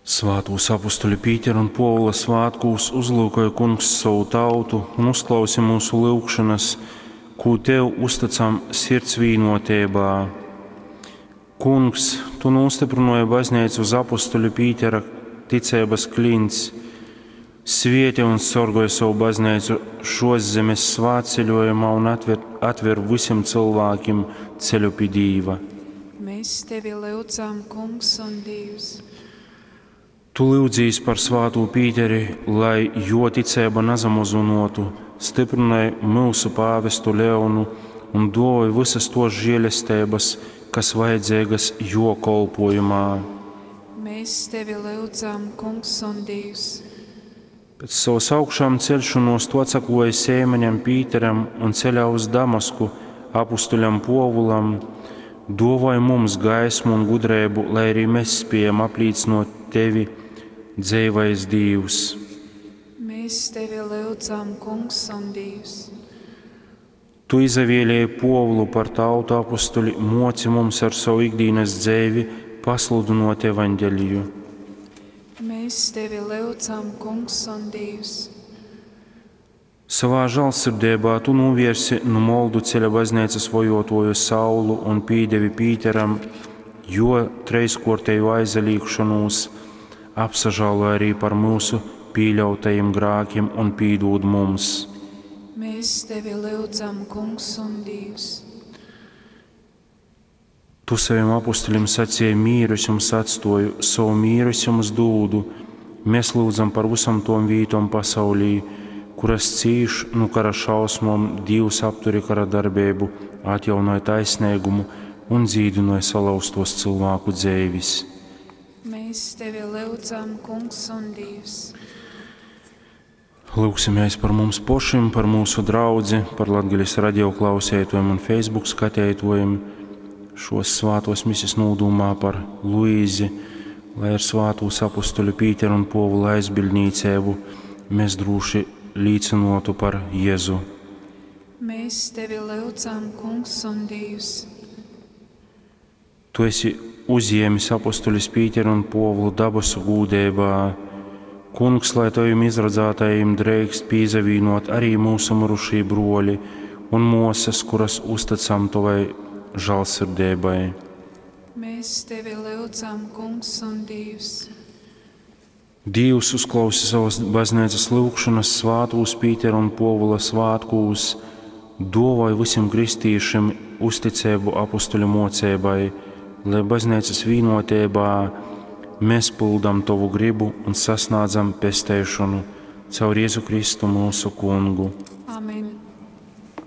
Svātūs apustuļu Pītera un Puovula svātkūs uzlūkoj Kungs sovu tautu un uzklausi mūsu lyugšonas, kū Tev uztycam sirds vīnuoteibā. Kungs, Tu nūstyprynuoji bazneicu uz apustuļu Pītera ticeibys kliņts. Svieti un sorgoj sovu bazneicu šuos zemes svātceļuojumā un atver, atver vysim cylvākim ceļu pi Dīva. Mēs tevi lyudzam, Kungs un Dīvs. Tu lyudzīs par svātū Pīteri, lai juo ticeiba nasamozynuotu, styprynoj myusu pāvestu Leonu un duovoj vysys tuos žielesteibys, kas vajadzeigys juo kolpuojumā. Mēs tevi lyudzam, Kungs un Dīvs. Pēc sovas augšām ceļšonuos tu atsakluoji Seimaņam Pīteram un ceļā uz Damasku apustuļam Puovulam, duovoj mums gaismu un gudreibu, lai arī mēs spiejam aplīcynuot tevi, dzeivais Dīvs. Mēs tevi lyudzam, Kungs un Dīvs. Tu izavēlēji Puovulu par tautu apustuļi, muoci mums ar savu ikdīnas dzeivi pasludynuot evaņģeliju. Mēs tevi lyudzam, Kungs un Dīvs. Savā žālsirdeibā tu novērsi nu moldu ceļa bazneicas vojuotuoju Saulu un pīdevi Pīteram juo treiskuorteju aizalīgšonūs, apsažāloj arī par mūsu pīļautajim grākim un pīdūd mums. Mēs tevi lyudzam, Kungs un Dīvs. Tu saviem apustuļiem sacīji, mīru es jums atstoju, savu mīru es jums dūdu. Mēs lūdzam par visam tom vītom pasaulī, kuras cīš nu kara šausmom, Dīvs apturi kara darbību, atjaunoja taisnīgumu un dzīdinoja salauztos cilvēku dzeivis. Mēs tevi lyudzam, Kungs un Dīvs. Lūksimies par mums pašiem, par mūsu draudzi, par Latgales radio klausētojiem un Facebook skatētojiem šos svātos misis nūdūmā par Luīzi, lai ar svātūs apustuļu Pīteru un Povula aizbildnīcēbu mēs drūši līcinotu par Jēzu. Mēs tevi lyudzam, Kungs un Dīvs. Tu esi uzjēmis apustuļus Pīteru un Povulu dabasu gūdeibā. Kungs, lai tavim izradzātajiem drīkst pīzavīnot arī mūsu mirušī bruoļi un muosas, kuras uzticam tavai žālsirdībai. Mēs tevi lyudzam, Kungs un Dīvs. Dīvs uzklausi savas baznīcas lūgšanas svātūs Pītera un Povula svātkūs, duovoj visiem kristīšiem uzticību apustuļu mocībai, lai baznīcas vienotībā mēs pildam Tavu gribu un sasniedzam pesteišanu caur Jēzu Kristu mūsu kungu. Amen.